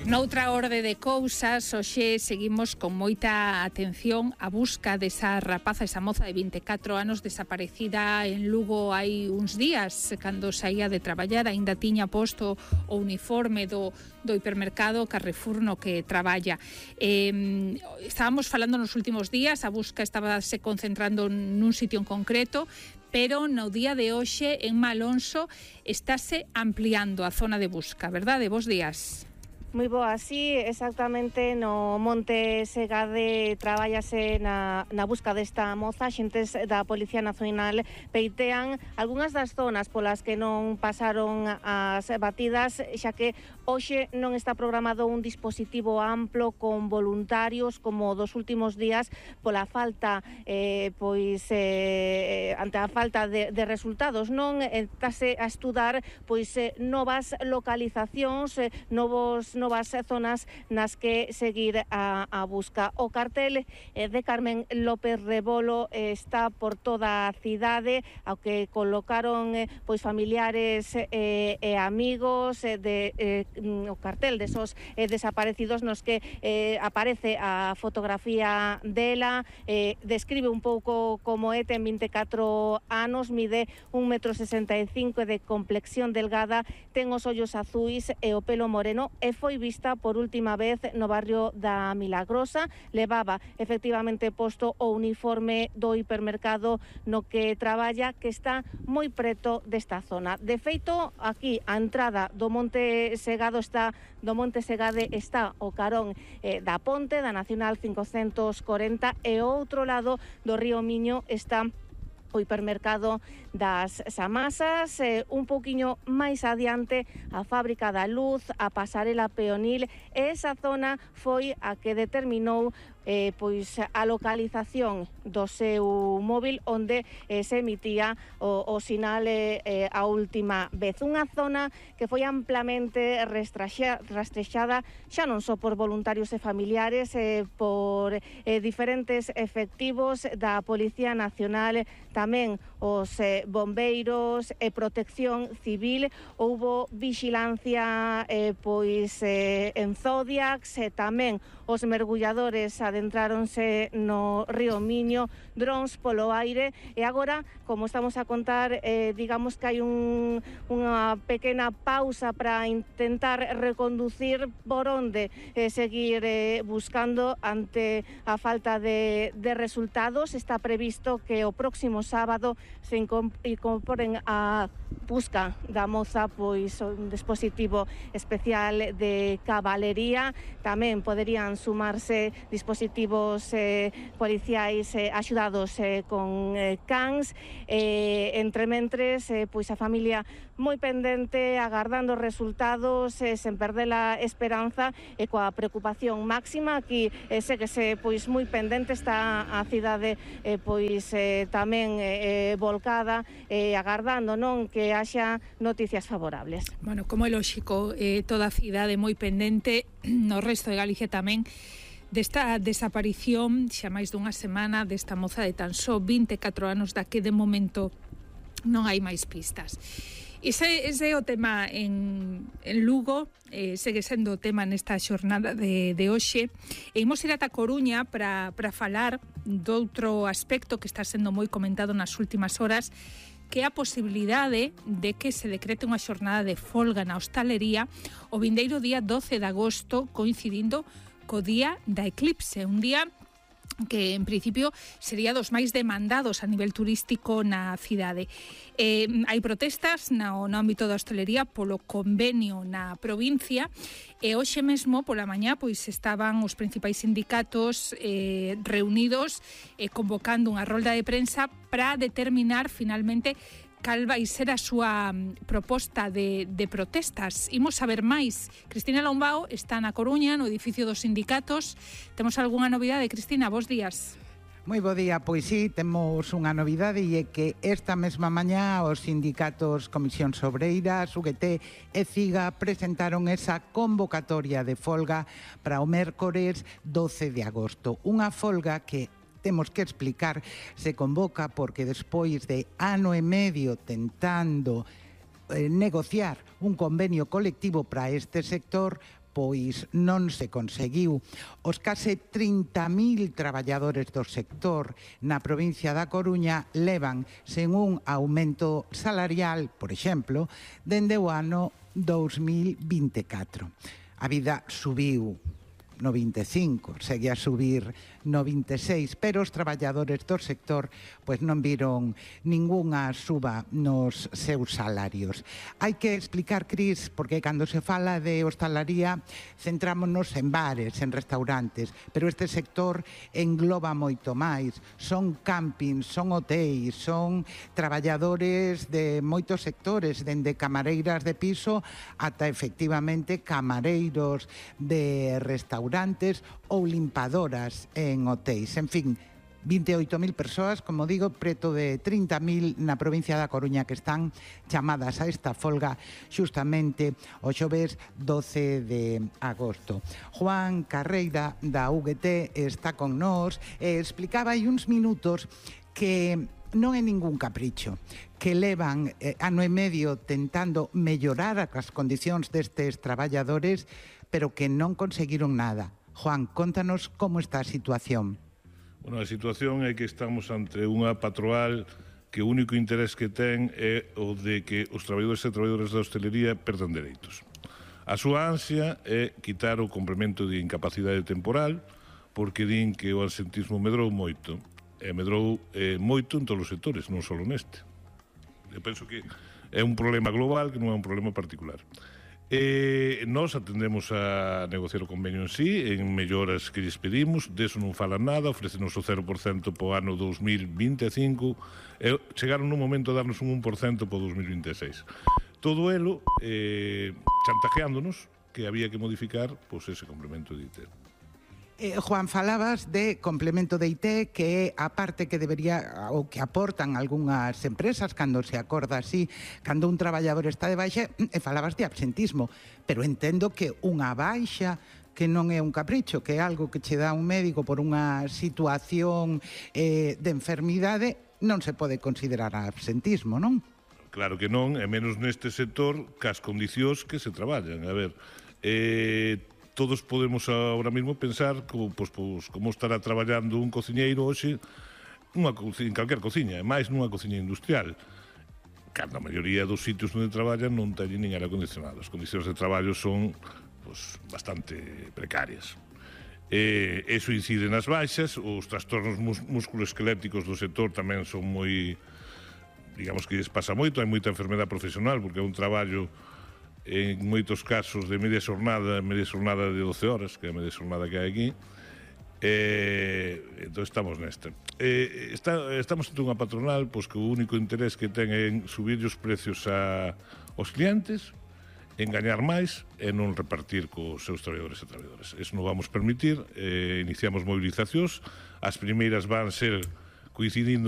Noutra orde de cousas, hoxe seguimos con moita atención a busca desa rapaza, esa moza de 24 anos desaparecida en Lugo hai uns días, cando saía de traballar, aínda tiña posto o uniforme do hipermercado Carrefour no que traballa. Estábamos falando nos últimos días, a busca estaba se concentrando nun sitio en concreto, pero no día de hoxe en Malonso estáse ampliando a zona de busca, verdade? Bos días. Moi boa, sí, exactamente no Monte Segade traballase na busca desta moza. Xentes da Policía Nacional peitean algunhas das zonas polas que non pasaron as batidas, xa que hoxe non está programado un dispositivo amplo con voluntarios como dos últimos días pola falta, ante a falta de resultados, non estase a estudar novas localizacións, novas zonas nas que seguir a busca. O cartel de Carmen López Rebolo está por toda a cidade, ao que colocaron familiares e amigos o cartel desos desaparecidos nos que aparece a fotografía dela, describe un pouco como é, ten 24 anos, mide 1,65 m de complexión delgada, ten os ollos azuis e o pelo moreno e foi vista por última vez no barrio da Milagrosa. Levaba efectivamente posto o uniforme do hipermercado no que traballa, que está moi preto desta zona. De feito, aquí a entrada do Monte Segade está o carón da ponte da Nacional 540 e ao outro lado do río Miño está o hipermercado das Samasas, un pouquiño máis adiante a Fábrica da Luz, a pasarela peonil, e esa zona foi a que determinou a localización do seu móvil onde se emitía o sinal a última vez. Unha zona que foi amplamente rastrexada xa non só por voluntarios e familiares, por diferentes efectivos da Policía Nacional, tamén os bombeiros e protección civil. Houbo vixilancia en Zodiacs, e tamén os mergulladores adentráronse no río Miño, drons polo aire, e agora, como estamos a contar, digamos que hai unha pequena pausa para intentar reconducir por onde seguir buscando ante a falta de resultados. Está previsto que o próximo sábado se incorporen a busca da moza un dispositivo especial de cabalería. Tamén poderían sumarse dispositivos policiais axudados con cans. Entre mentres, a familia moi pendente, agardando resultados, sen perder a esperanza e coa preocupación máxima. Aquí séguese moi pendente, está a cidade tamén volcada, agardando que haxa noticias favorables. Bueno, como é lóxico, toda a cidade moi pendente, no resto de Galicia tamén, desta desaparición xa máis dunha semana desta moza de tan só 24 anos, da que de momento non hai máis pistas. Ese é o tema en Lugo, segue sendo o tema nesta xornada de hoxe. E imos ir ata Coruña para falar doutro aspecto que está sendo moi comentado nas últimas horas, que é a posibilidade de que se decrete unha xornada de folga na hostalería o vindeiro día 12 de agosto, coincidindo co día da eclipse, un día que en principio sería dos máis demandados a nivel turístico na cidade. Hai protestas no ámbito da hostalería polo convenio na provincia, e hoxe mesmo pola mañá estaban os principais sindicatos reunidos, convocando unha rolda de prensa para determinar finalmente cal vai ser a súa proposta de protestas. Imos saber máis. Cristina Lombao está na Coruña, no edificio dos sindicatos. Temos algunha novidade, Cristina? Bos días. Moi bo día, pois sí, temos unha novidade, e é que esta mesma mañá os sindicatos Comisións Obreiras, UGT e CIGA presentaron esa convocatoria de folga para o mércores 12 de agosto. Unha folga que temos que explicar se convoca porque despois de ano e medio tentando negociar un convenio colectivo para este sector, pois non se conseguiu. Os case 30.000 traballadores do sector na provincia da Coruña levan sen un aumento salarial, por exemplo, dende o ano 2024. A vida subiu no 25, segue a subir no 26, pero os traballadores do sector pois non viron ningunha suba nos seus salarios. Hai que explicar, Cris, porque cando se fala de hostalaría centrámonos en bares, en restaurantes, pero este sector engloba moito máis. Son campings, son hotéis, son traballadores de moitos sectores, dende camareiras de piso ata efectivamente camareiros de restaurantes ou limpadoras en hotéis. En fin, 28.000 persoas, como digo, preto de 30.000 na provincia da Coruña que están chamadas a esta folga xustamente o xoves 12 de agosto. Juan Carreira da UGT está con nós e explicaba hai uns minutos que non é ningún capricho, que levan ano e medio tentando mellorar as condicións destes traballadores, pero que non conseguiron nada. Juan, contanos como está a situación. Bueno, a situación é que estamos ante unha patronal que o único interés que ten é o de que os traballadores e traballadoras da hostelería perdan dereitos. A súa ansia é quitar o complemento de incapacidade temporal, porque din que o absentismo medrou moito. E medrou moito en todos os sectores, non só neste. Eu penso que é un problema global, que non é un problema particular. Nós atendemos a negociar o convenio en sí, en melloras que lles pedimos, deso non falan nada, ofrecenos o 0% po ano 2025, e chegaron nun momento a darnos un 1% po 2026. Todo elo chantajeándonos que había que modificar pois, ese complemento de IT. Juan, falabas de complemento de IT, que é a parte que debería ou que aportan algunhas empresas cando se acorda así, cando un traballador está de baixa, e falabas de absentismo, pero entendo que unha baixa que non é un capricho, que é algo que che dá un médico por unha situación de enfermidade, non se pode considerar absentismo, non? Claro que non, e menos neste sector, cas condicións que se traballan. A ver, todos podemos ahora mesmo pensar como estará traballando un cociñeiro hoxe en calquer cociña, e máis nunha cociña industrial. Cando a maioría dos sitios onde traballan non teñen nin aire acondicionado. As condicións de traballo son bastante precarias. Eso incide nas baixas, os trastornos musculoesqueléticos do sector tamén son moi, digamos que lles pasa moito, hai moita enfermedade profesional, porque é un traballo en moitos casos de media xornada de 12 horas, que é a media xornada que hai aquí. Entón estamos nesta. Estamos ante unha patronal pois, que o único interés que ten é subir os precios aos clientes, engañar máis e non repartir cos seus traballadores e traballadoras. Eso non vamos permitir. Iniciamos movilizacións. As primeiras van ser coincidindo